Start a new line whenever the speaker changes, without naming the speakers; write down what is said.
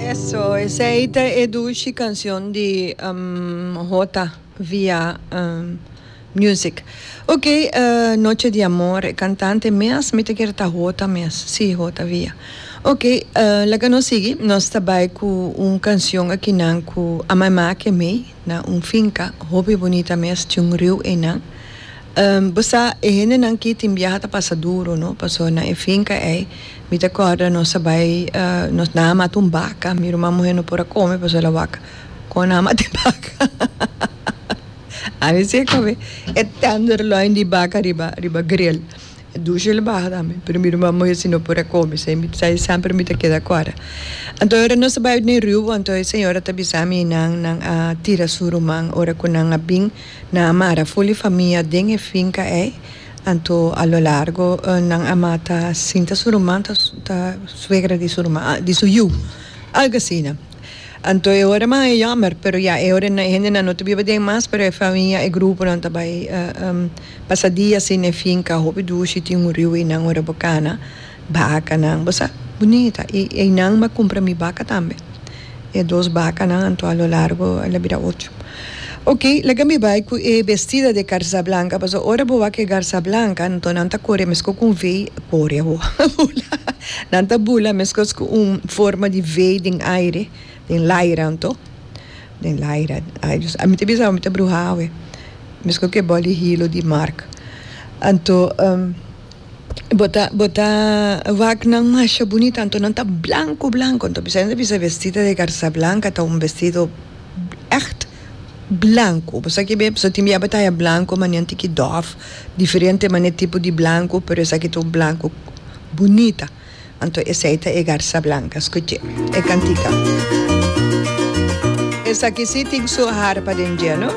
Eso, esei ta e dushi cancion di Jota via Music. Ok, Noche di Amor, e cantante mes mi ta kere ta Jota mes, si Jota via. Ok, laga nos sigui, nos ta bai cu un cancion akinan cu a mai make mei na un finca hopi bunita mes, tin un riu einan. Bo sa e hendenan ki tin biaha ta pasa duro no, pasobra na e finca ei mi ta corda nos a bai nos nan a mata un baca, mi ruman muher no por a come pasobra el a wak con nan a mata e baca. Ami si a come e tenderloin di baca riba riba grill. E dushi el baha tambe, pero mi ruman muher si no por a come, esei mi sa semper mi ta keda corda. Anto ora nos a bai den riu anto e señora ta bisa mi nan nan a tira su ruman ora cu nan a bin. Nan a mara ful e famia den e finka ei, anto a lo largo nan a mata sinta su ruman ta ta suegra di su ruman di su yu, algo asina. Anto e ora mas e yòmer, pero ya e ora e hendenan no ta biba den mas, pero e famia e gruponan ta bai pasa dia asina e finka hopi dushi tin un riu einan ora bo kana. Bakanan, bo sa, bunita. I einan m'a kumpra mi baka tambe. E dos bakanan, anto a lo largo el a bira ocho. Oké, laga mi bai ku e bestida di garza blanka, pasobra ora bo wak e garza blanka, anto nan ta kore meskos ku un vei, kore awor, bula, nan ta bula meskos ku un forma di vei den aire, den laira anto, den laira, ai Dios, ami ta bisa mi ta bruha awe, meskos ku e bòl di hilo di Mark. Anto. Bo ta bo ta wak nan masha bunita anto nan ta blanco blanco anto bisa nan ta bisa vestida de garza blanca ta un vestido echt blanco bo sa kibe pasobra tin bia bo ta haya blanco mane un tiki dof diferente mane tipo di blanco pero esaki ta un blanco bunita anto esey ta e garza blanca scuche e cantica esaki si tin su harpa den dje no.